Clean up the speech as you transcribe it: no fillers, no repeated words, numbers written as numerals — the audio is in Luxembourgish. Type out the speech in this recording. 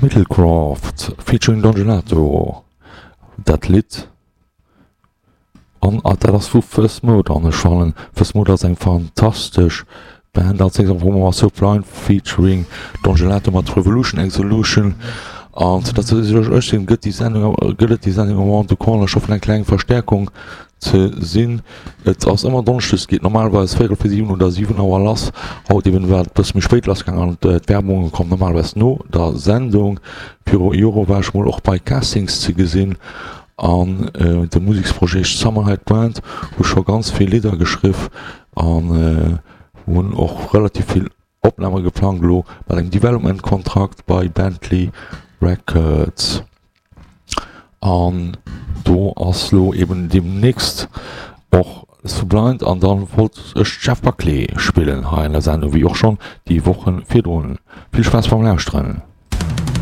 Middlecroft featuring Don Gelato, dat Lidd an dat ass vu First Mode an ech fannen First Mode ass eng fantastesch Band. Als nächst hu mer Sublime featuring Don Gelato mat Revolution Exolution an 2018 gëtt déi Sendung gëtt et déi Sendung Around the Corner. Ech hoffen eng kleng Verstäerkung ze sinn. Et ass ëmmer Donneschdes, geet normalerweis véierel vir 7 oder 7 Auer lass. Haut eben war et bësse méi spéit lass gaangen an d'Werbung komm normalerweis no der Sendung. Viru Jore war ech mol och bei Castings ze gesinn an de Museksprojet Summer Night Band hu scho ganz vill Lidder geschriff an hunn och relativ vill Opname geplangt elo mat engem Development Kontrakt bei Bentley Records. An do ass lo eben demnächst och Sublind an dann wollt ech Jeff Buckley spillen hei an der Sendung, wéi och schonn déi Wochen virdrun. Vill Spaass beim Lauschteren.